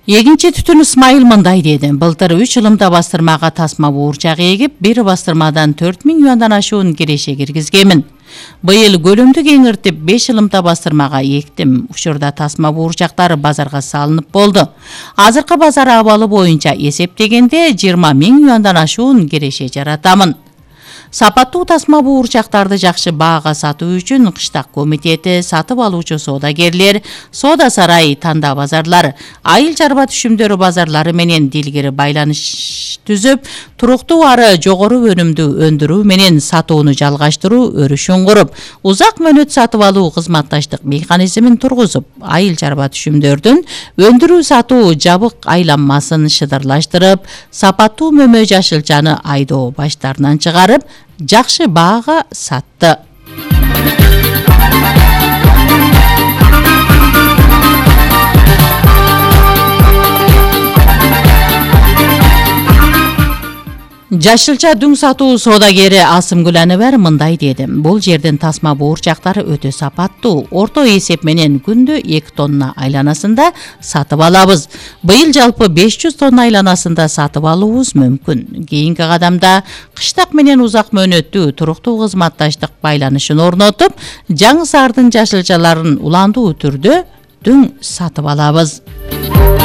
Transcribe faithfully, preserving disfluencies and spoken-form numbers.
Эгинчи Түтүн Исмайыл мындай деди. Былтыр үч ылымда бастырмага тасма буурчак эгип, бир бастырмадан төрт миң юандан ашуун киреше киргизгемин. Быйыл көлөмдү кеңиртип беш ылымда бастырмага эктим. Учурда тасма буурчактары базарга салынып болду. Азыркы базар абалы боюнча эсептегенде жыйырма миң юандан ашуун киреше жаратамын. Сапаттуу тасма буурчактарды жакшы баага сатуу үчүн кыштак комитети, сатып алуучу соодагерлер, соода сарай, танда базарлар, айыл чарба түшүмдөрү базарлары менен дилгири байланыш түзүп, туруктуу ары жогору өнүмдү өндүрүү менен сатууну жалгаштыруу өрүшүн куруп, узак мөөнөт сатып алуу кызматташтык механизмин тургузуп, айыл чарба түшүмдөрдүн өндүрүү сатуу жабык айланмасын шыдырлаштырып, сапаттуу мөмө жашылчаны айдоо баштарынан чыгарып, жакшы баага сатты. Жашылча дүң сатуу соодагери Асымгүл Аныбар мындай деди. Бул жердин тасма буурчактары өтө сапаттуу. Орто эсеп менен күндө эки тонна айланасында сатып алабыз. Быйыл жалпы беш жүз тонна айланасында сатып алуубуз мүмкүн. Кийинки кадамда кыштак менен узак мөөнөттүү туруктуу кызматташтык байланышын орнотуп, Жаңы Саардын жашылчаларын уландуу түрдө дүң сатып алабыз.